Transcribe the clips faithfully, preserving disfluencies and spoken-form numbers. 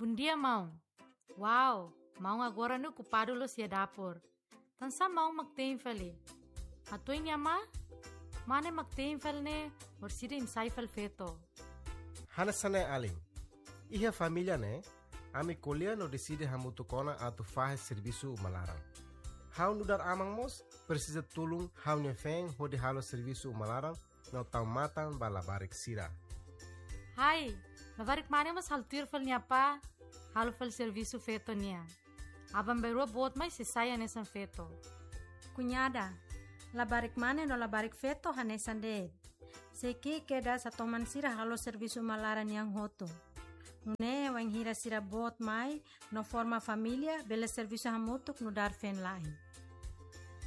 Bondia, maun. Wow, maun agora ne'e okupadu loos iha dapur. Tansá maun mak te'in fali? Hatudu iha ne'ebá, mane mak te'in fali ne'e, orsida imi sai fali feto. Hanesan ne'e alin. Iha família ne'e, ami ko'alia no deside hamutuk ona atu fahe servisu uma laran. Ha'u nu'udar aman mós presiza tulun ha'u-nia feen hodi halo servisu uma laran no tau matan ba labarik sira. Hai, labarik mane mós halo tuir fali nia apá, halo fali servisu feto nian. Aban-bainrua boot mai sei sai hanesan feto. Kuñada, labarik mane no labarik feto hanesan de'it. Sei ki'ik kedas hatoman sira halo servisu uma laran nian hotu. Nune'e wainhira sira boot mai no forma família, bele servisu hamutuk nu'udar feen-la'en.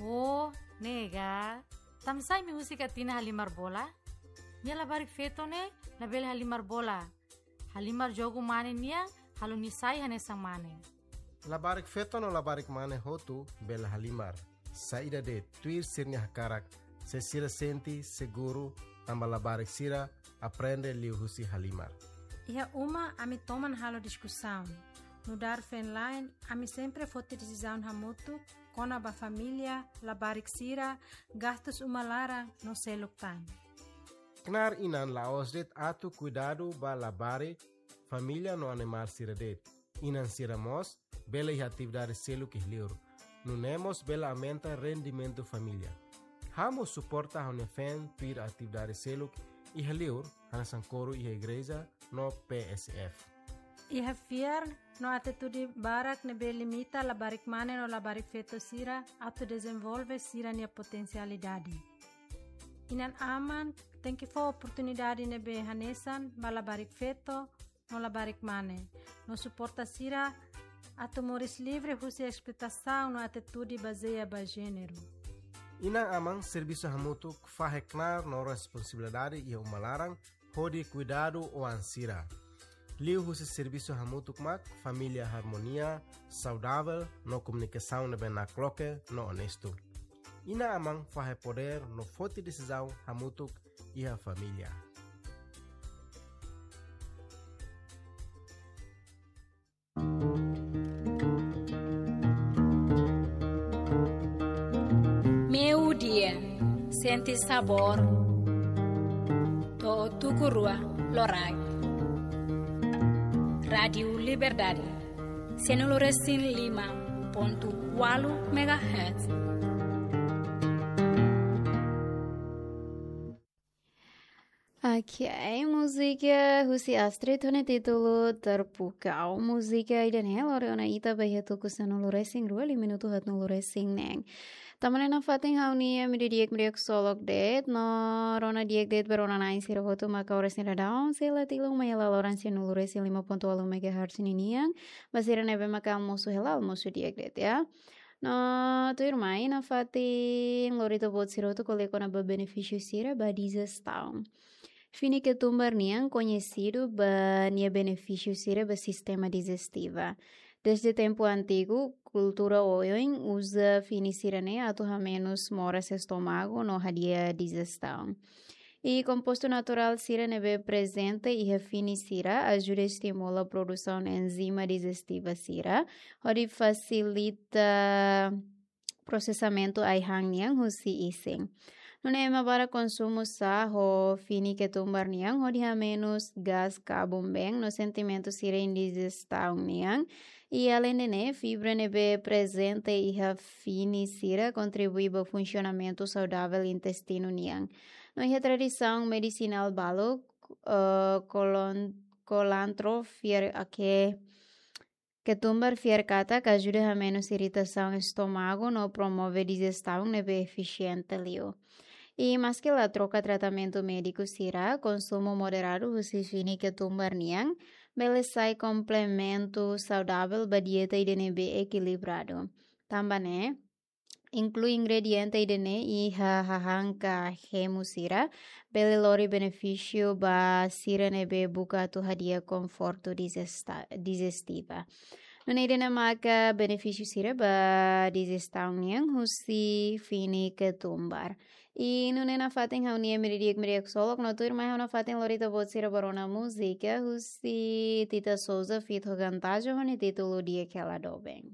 Oh, ne'e ka. Tansá imi husik Atina halimar bola? Nia labarik feto ne'e labele halimar bola. Halimar jogu mane nian, halo nia sai hanesan mane. Labarik feto no labarik mane hotu bele halimar. Saida de'it, tuir sira-nia hakarak, se sira sente seguru, tanba labarik sira aprende liuhusi halimar. Iha uma ami toman halo diskusaun. Nu'udar feen-la'en, ami sempre foti desizaun hamutuk, kona-ba família, labarik sira, gastus uma laran no seluk tan. Knaar inan la'ós de'it atu kuidadu ba labarik, família no animál sira de'it. Inan sira mós bele iha atividade seluk iha liur. Nune'e mós bele aumenta rendimentu família. Ha'u mós suporta ha'u-nia feen tuir atividade seluk iha liur, hanesan koru iha igreja no P S F. Iha fiar no atitude barak ne'ebé limita labarik mane no labarik feto sira atu dezenvolve sira-nia potensialidade. Inan-aman tenke fó oportunidade ne'ebé hanesan ba labarik feto no labarik mane, no suporta sira atu moris livre husi esploitasaun no atitude bazeia ba jéneru. Inan-aman servisu hamutuk fahe knaar no responsabilidade iha uma laran hodi kuidadu oan sira. Liuhusi servisu hamutuk mak família harmonia, saudavel no komunikasaun ne'ebé nakloke no onestu. Inan-aman fahe podér no foti desizaun hamutuk iha família. Meiudia, sente sabór, to'o tuku rua loraik. Rádiu Liberdade, sianulu resin lima pontu ualu megahertz. Ok, múzika husi Astrid ho nia títulu Terpukau. Múzika ida-ne'e lori ona ita ba iha tuku sanulu resin rua, liu minutu haatnulu resin neen. Tanba ne'e nafatin ha'u-nia imi di'ak, imi di'ak ksolok de'it, no rona di'ak de'it ba rona-na'in sira hotu maka oras ne'e daudaun sei la tilun mai hela loron sianulu resin lima pontu ualu megahertz ninian, ba sira ne'ebé maka almosu hela, almosu di'ak de'it, ya. No tuirmai nafatin lori ita-boot sira hotu ko'alia kona-ba benefísiu sira ba dijestaun. Fini ketumbar nian koñesidu ba nia benefísiu sira ba sistema dijestiva. Desde tempu antigu, kultura oioin uza fini sira-ne'e atu hamenus moras estómagu no hadi'a dijestaun. I kompostu naturál sira ne'ebé prezente iha fini sira ajuda estimula produsaun enzima dijestiva sira, hodi fasilita prosesamentu ai-han nian husi isin. Nune'e ema barak konsumu xá ho fini ketumbar nian hodi hamenus gás kabun-been no sentimentu sira indijestaun nian. I aleinde ne'e, fibra ne'ebé prezente iha fini sira kontribui ba funsionamentu saudavel intestinu nian. No iha tradisaun medisinál balu, eh, kolon-, kolantro fiar ake ketumbar fiar katak ajuda hamenus iritasaun estómagu no promove dijestaun ne'ebé efisiente liu. I maske la troka tratamentu médiku sira, konsumu moderadu husi fini ketumbar nian bele sai komplementu saudavel ba dieta ida ne'ebé ekilibradu. Tanba ne'e, inklui ingrediente ida-ne'e iha hahán ka hemu sira, bele lori benefísiu ba sira ne'ebé buka atu hadi'a konfortu dijesta-, dijestiva. Nune'e ida-ne'e maka benefísiu sira ba dijestaun nian husi fini ketumbar. I nune'e nafatin ha'u-nia ema di'ak, ema di'ak ksolok, no tuirmai ha'u nafatin lori ita-boot sira ba rona múzika husi Tita Souza feat Hogan Tajo ho nia títulu Di'ak Hela Doben.